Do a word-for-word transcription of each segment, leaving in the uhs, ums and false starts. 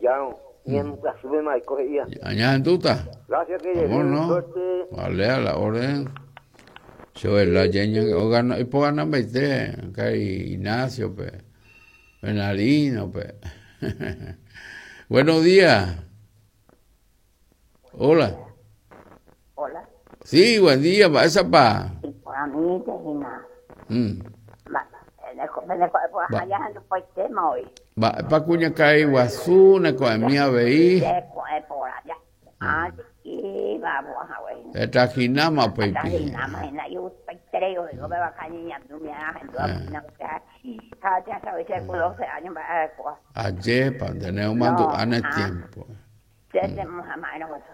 Ñandejárõ ñembyasýpe maiko he'íva. Ñahendúta. Gracias que ¿Cómo no? Suerte. Vale, a la orden. Yo la yeña ogana y po gana mbaite kai Ignacio pe Bernardino pe. Buenos días. Hola. Hola. Sí, buen día, pa esa pa. Iporãmínte hína. Mm. Mba'e ajahendupoitéma voi. Mba'épa kuñakarai guasu neko'ẽmi avei. Cheko'ẽ porã ja. Ivavohague. Etrajináma upéipi. Atrajináma hína igustaiterei oiko pe vaka ñeñandu ahendúva hína ha jasavi che ku doce años mba'e arekóva. Ajépa nde neomandu'áne No, ah. tiempo. Che chemohama'erõ guasu.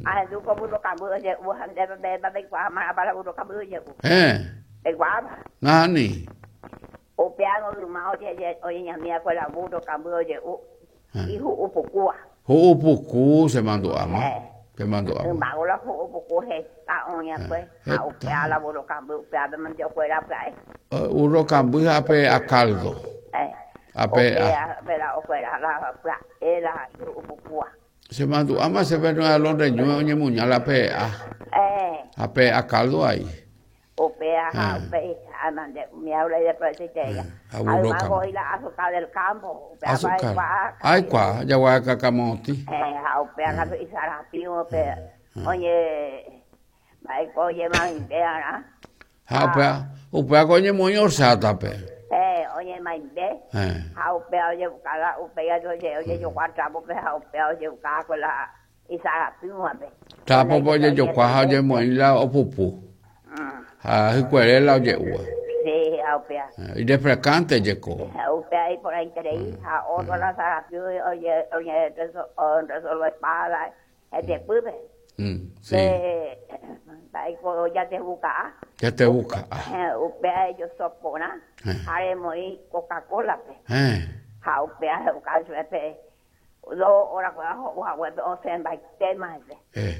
Ahendu ko burro kamby oje'u ha ndéve peikuaa mávapa la burro kamby oje'u. Eh, Peikuaápa. nahani. Upévango yma oje oñeñamiakue la burro kamby oje'u ihu'upukúva. Hu'upuku chemandu'áma. Eh. Chemandu'áma. Ymágo la hu'upuku heta oĩakue ha Heta. upéva la burro kamby upévape mante okuera pya'e. Burro kamby ha pe a caldo. Eh. Ape a Upéva la okuera la pya'e la ihu'upukúva. Chemandu'áma chéve Nueva Londres ñúme oñemuña la pe a. Eh. Ha pe a caldo ahí. Upéva ha Eh. upéi ha mante umi aula ideprovechoitereíva. Ha Ha burro yma kamby. voi la azúcar del campo. Upéva Azúcar. aikuaa. Aikuaa, jaguacakamotĩ. Eh, ha upéva katu isarapi upe oñe mba'éko oñemaimbe'arã. Ha upéva upéva ko oñemoĩ horchatape. Eh, oñemaimbe. Eh. Ha upéva ojebuka la upéi oje ojejokua trapope ha upéva ojebuka la isarapívape. Trapope ojejokua ha oñemoĩ la opupu. Mm. Ha hykuere la oje'úva. Sí, ha upéva. Eh, irrefrescante jeko. Ha upéva iporãiterei ha otro la sarapi oje oje resolvepa hetepýpe. Mm, sí. Pe mba'éko jatevuka'a. Jatevuka'a. Eh, upéva ejosoporã Eh. ha remoĩ Coca-Colape. Eh. Ha upéva he'uka chupe dos horas kuéra ho'u haguépe osẽmbaitéma hese. Eh,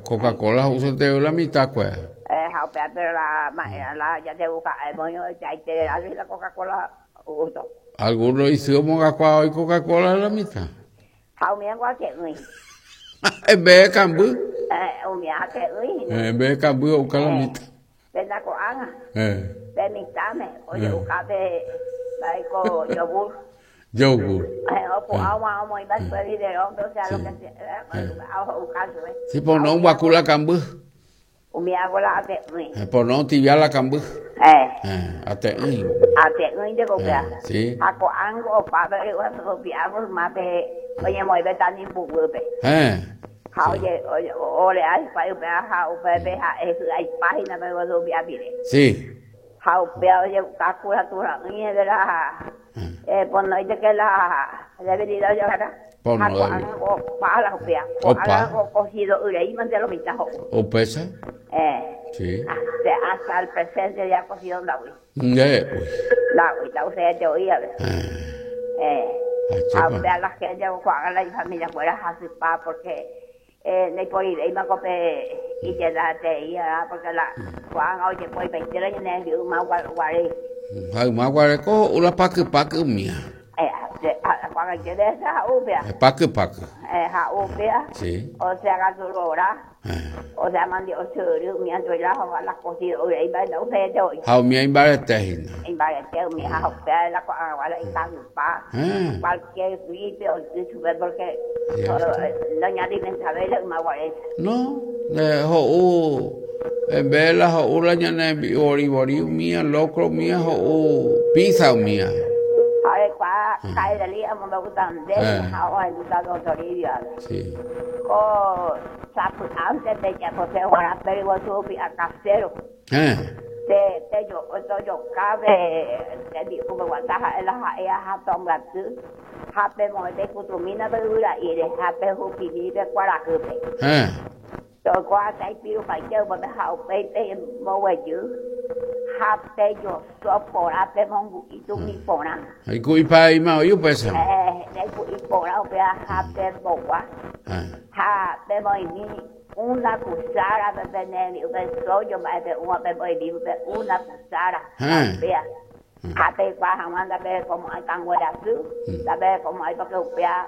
Coca-Cola ho'usete la mitad kuéra. Eh, ha upéva pero la ma'erã la jatevuka'a emoĩ oichaiterei la Coca-Cola gusto. Algunos isy omongakuaa oi Coca-Cola la mitad. Ha umíva ate'ỹi. En vez de kamby. Eh, umíva ate'ỹi. Eh, en vez de kamby ho'uka la mitad. Péina ko'ág̃a. Eh. Pe mitãme oje'uka pe mba'éko yogur. Yogur. Eh, opu'ãva omoĩva chupe biberón, o sea, lo que sea, Eh. ho'uka chupe. Sí, por no guaku la kamby. Umíva la ate'ỹi. Eh, por no tibia la kamby. Eh. Eh, ate'ỹi. Ate'ỹinte upéva. Eh, sí. Ha ko'ág̃a opa pe ryguasu ymápe oñemoĩve tanimbuguýpe. Eh. Ha oje oje orea hikuái upéva ha upépe ha'e hy'aipahína pe ryguasu pire. Sí. Ha upéva ojebuka curatura'ỹi de la eh, por no que la debilidad ojeguará. Por Ha no ko'ág̃a opa la upéva. Opa. Ko'ág̃a cocido yrei mante lo mitã ho'u. Upéicha. Eh. Sí. Hasta, hasta el presente ya cocido nda'úi. Eh, uy. Nda'úi, nda'uséite oĩ ave. Eh. Eh. Ajépa. Ha upéva la gente ko'ág̃a la ifamilia kuéra hasypa porque eh, ndaiporivéima ko pe ijedateíva porque la ko'ág̃a ojepoipaite la ñane yma guare. Ha yma guareko ho'u la pakypaky umía. Eh, ko'ag̃aite de ha'u upéva. Eh, pakypaky. Eh, ha'u upéva. Sí. O sea, katu Eh. O sea, mandi ochyry umi anduela ha la cocido yrei nda'uséite oĩ. Ha umía imbarete hína. Imbarete umi ha upéva la ko'ag̃agua la ikangypa. Eh. Cualquier gripe oity chupe porque Cierto. noñalimentavéi la yma guaréicha. No, eh, ho'u en vez de la ho'u la ñane vori vori umía, locro umía, ho'u pizza umía. Ha rekuaa ka'ireli amombe'úta nde Eh. ha ohendúta don Toribio ave. Sí. Ko sapy'ánte pejapose g̃uarã pe ryguasu pi'a casero. Eh. Te tejo tojokápe tembi'upeguata ha'e la ha'e ha tombyaty ha pemoĩ peikutumína pe yvyra'íre ha pehupimi pe kuarahýpe. Eh. Toiko hasta ipirupaite upépe ha upéi pemboguejy ha pejoso porã pemongu'i tumi porã. Iku'ipaíma oĩ upéicha. Eh, ndaiku'i porã upéva ha pembogua. Eh. Ha pemoĩmi una cuchara pe pene upe sojo mba'e pe'úva pemoĩmi upe una cuchara. Eh. Upéva. Ha peikuaa hag̃ua ndaperekomo'ãi kanguerasy, ndaperekomo'ãi porque upéva